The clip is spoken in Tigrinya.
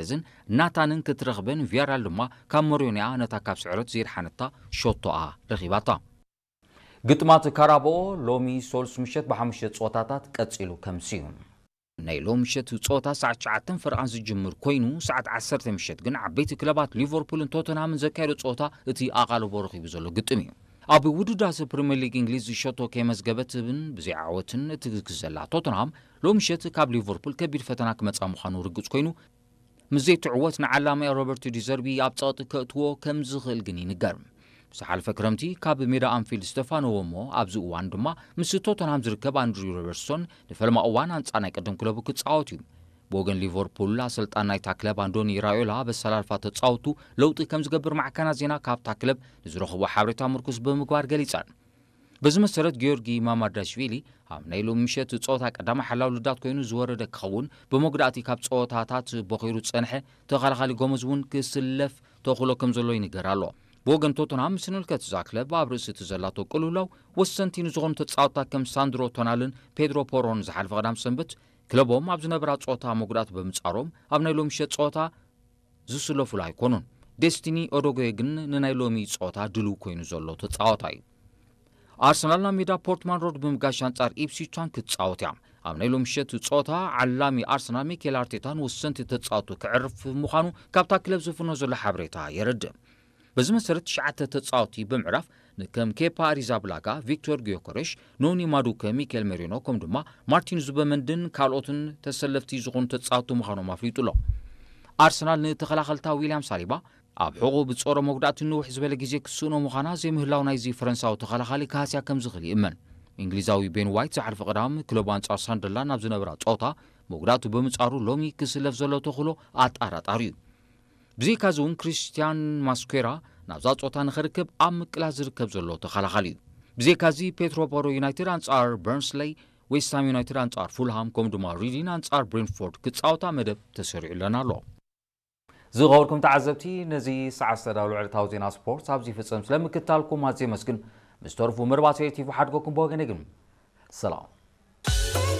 ዲያዝን ናታንን ክትረኽበን፣ ቪያሪያል ድማ ካብ ሞሮኒያ ነታ ካብ ስዕረት ዘየድሓነታ ሸቶኣ ረኺባታ። ግጥማት ካራባኦ ሎሚ ሶልስ ምሸት ብሓሙሽተ ጸወታታት ቀጺሉ ከምሲ እዩ። ናይ ሎሚ ምሸት ጸወታ ሰዓት ትሽዓተ ፈረቓን ዝጅምር ኮይኑ፣ ሰዓት ዓሰርተ ምሸት ግን ዓበይቲ ክለባት ሊቨርፑልን ቶተንሃምን ዘካየዶ ጸወታ እቲ ኣቓልቦ ረኺቡ ዘሎ ግጥም እዩ። ኣብ ውድዳሰ ፕሪምየር ሊግ እንግሊዝ ሸቶ ከይመዝገበትን ብዘይዓወትን እትግዝግዝ ዘላ ቶተንሃም፣ ሎሚ ምሸት ካብ ሊቨርፑል ከቢድ ፈተና ክመጻ ምዃኑ ርግጽ ኮይኑ፣ ምስ ዘይትዕወት ንዓላማያ ሮበርት ዲዘርቢ ኣብ ጸቕጢ ከእትዎ ከም ዝኽእል ግን ይንገር። ዝሓለፈ ክረምቲ ካብ ሜዳ ኣንፊልድ ዝተፋነዎ እሞ ኣብዚ እዋን ድማ ምስ ቶተንሃም ዝርከብ ኣንድሪ ሮበርትሶን ንፈለማ እዋን ኣንጻር ናይ ቀደም ክለቡ ክጻወት እዩ። ብወገን ሊቨርፑል ኣሰልጣን ናይታ ክለብ ኣንዶኒ ራዮላ በሰላልፋ ተጻወቱ ለውጢ ከም ዝገብር ማዕከናት ዜና ካብታ ክለብ ንዝረኽቦ ሓበሬታ ምርኩስ ብምግባር ገሊጸን። በዚ መሰረት ጊዮርጊ ማማርዳሽቪሊ ኣብ ናይ ሎሚ ምሸት ጸወታ ቀዳማይ ሓላው ልዳት ኮይኑ ዝወረደ ክኸውን፣ ብመጉዳእቲ ካብ ጸወታታት ቦኺሩ ዝጸንሐ ተኸላኻሊ ጎመዝ እውን ክስለፍ ተኽእሎ ከም ዘሎ ይንገር ኣሎ። ብወገን ቶተንሃም ምስ ንልከት እዛ ክለብ ኣብ ርእሲ እቲ ዘላቶ ቅልውላው ወሰንቲ ንዝኾኑ ተጻወትታ ከም ሳንድሮ ቶናልን ፔድሮ ፖሮን ዝሓለፈ ቀዳም ሰንበት ክለቦም ኣብ ዝነበራ ጸወታ መጉዳእቲ ብምጻሮም ኣብ ናይ ሎሚ ምሸት ጸወታ ዝስለፉሉ ኣይኮኑን። ዴስቲኒ ኦዶጎየ ግን ንናይ ሎሚ ጸወታ ድልው ኮይኑ ዘሎ ተጻዋታይ እዩ። ኣርሰናል ናብ ሜዳ ፖርትማን ሮድ ብምጋሽ ኣንጻር ኢፕስዊች ታውን ክትጻወት እያ። ኣብ ናይ ሎሚ ምሸት ጸወታ ዓላሚ ኣርሰናል ሚኬል ኣርቴታ ንወሰንቲ ተጻወቱ ክዕርፍ ምዃኑ ካብታ ክለብ ዝፍኖ ዘሎ ሓበሬታ የረድእ። በዚ መሰረት ትሽዓተ ተጻወቲ ብምዕራፍ ንከም ኬፓ ኣሪዛብላጋ፣ ቪክቶር ጊዮኮሬሽ፣ ኖኒ ማዱከ፣ ሚኬል ሜሪኖ ከምኡ ድማ ማርቲን ዙበመንድን ካልኦትን ተሰለፍቲ ዝኾኑ ተጻወቲ ምዃኖም ኣፍሊጡ ኣሎ። ኣርሰናል ንተኸላኸልታ ዊልያም ሳሊባ ኣብ ሕቑ ብጾረ መጉዳእቲ ንውሕ ዝበለ ግዜ ክስእኖ ምዃና ዘይምህላው ናይዚ ፈረንሳዊ ተኸላኻሊ ክሃስያ ከም ዝኽእል ይእመን። እንግሊዛዊ ቤን ዋይት ዝሓለፈ ቀዳም ክለቡ ኣንጻር ሳንደርላንድ ኣብ ዝነበራ ጸወታ መጉዳእቱ ብምጻሩ ሎሚ ክስለፍ ዘሎ ተኽእሎ ኣጠራጣሪ እዩ። ብዘይካዚ እውን ክሪስቲያን ማስኩዌራ ናብዛ ጸወታ ንኸርከብ ኣብ ምቅላስ ዝርከብ ዘሎ ተኸላኻሊ እዩ። ብዘይካዚ ፔትሮ ፖሮ ዩናይትድ ኣንጻር በርንስለይ፣ ዌስትሃም ዩናይትድ ኣንጻር ፉልሃም ከምኡ ድማ ሪዲን ኣንጻር ብሬንትፎርድ ክጻወታ መደብ ተሰሪዑለን ኣሎ። ዝኸበርኩም ተዓዘብቲ፣ ነዚ ሰዓት ዝተዳለወ ዕለታዊ ዜና ስፖርት ኣብዚ ይፍጸም። ስለምክትታልኩም ኣዝየ የመስግን። ምስ ተርፉ መርባት ኤሪ ቲቪ ሓድገኩም ብወገነ ግን ሰላም።